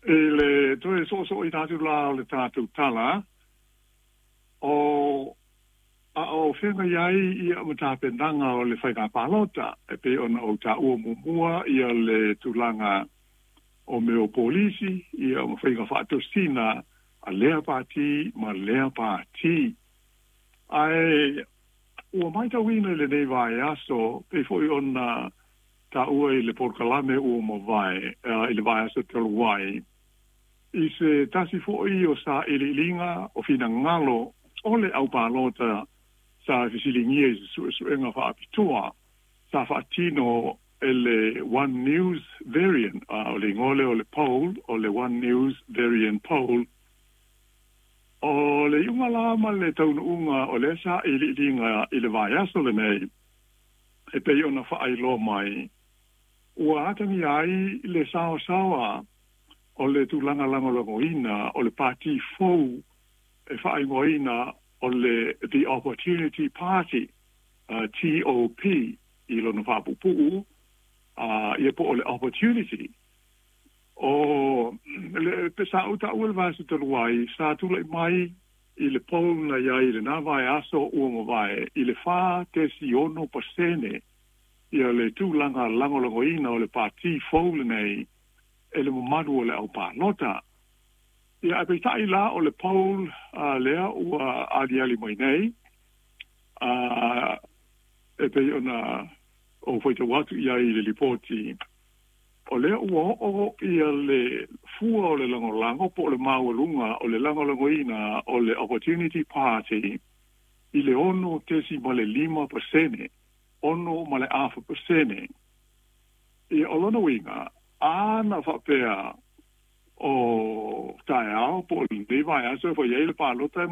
I le toe soosooina atu la o le tatou tala, o a o feagai ai ia ma tapenaga o le faiga palota e pei ona ou taua muamua ia le tulaga o mea o polisi ia ma faiga faatosina a lea pati ma lea pati. Ae ua matauina i lenei vaiaso pei foi ona taua i le polokalame ua mavae i le vaiaso talu ai i se tasi foi o sailiiliga o finagalo o le aupalota sa fesiligia i se suesuega faapitoa sa faatino e le One News Verian, o le igoa lea o le poll o le One News Verian Poll. O le iuga la ma le taunuuga o lea sailiiliga i le vaiaso lenei e pei ona faailoa mai, ua atagia ai le saosaoa o le tulaga lagolagoina o le pati fou e faaigoaina o le The Opportunity Party, TOP i lona faapuupuu, ia po o le Opportunity. O le sa ou taua i le vaiaso talu ai, sa tulai mai i le poll na i ai i lena vaiaso ua mavae i le 46% ia le tulaga lagolagoina o le pati fou lenei e le mamalu o le aupalota. Ia, ae peitai la o le poll lea ua aliali mai nei, e pei ona ou faitau atu i ai i le lipoti, o lea ua oo ia le fua o le lagolago po o le maualuga o le lagolagoina o le Opportunity Party i le 6.5%, 6.5%. Ia, o lona uiga, a na faapea o taeao po o lenei vaiaso e fai ai le palota e